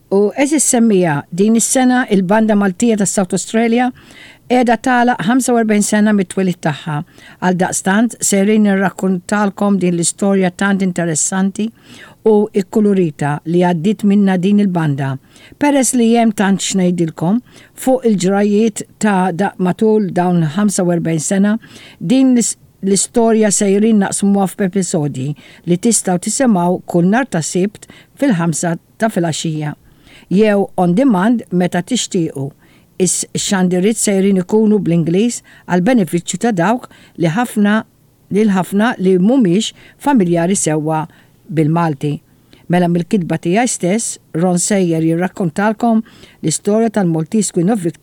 U għeżież semmiegħa, din is-sena il-Banda Maltija ta' South Australia qiegħda tagħlaq 45 sena mit-twelid tagħha. Għaldaqstant sejrin nirrakkuntalkom din l-istorja tant interessanti u kkulurita li għaddiet minnha din il-banda. Peress li hemm tant x'ngħidilkom fuq il-ġrajjiet ta' matul dawn 45 sena, din l-istorja sejrin naqsmuha f'episodji li tistgħu tisimgħu kull nhar ta' Sibt fil-ħamsa ta' filgħaxija, jew on demand meta tixtiequ. Ix-xandiriet sejrin ikunu bl-Ingliż għall-benefiċċju ta' dawk li ħafna lil ħafna li mhumiex familjari sewwa bil-Malti. Mela mill-kitba tiegħi stess, Ron sejjer jirrakkontalkom l-istorja tal-Maltese Queen of Victory.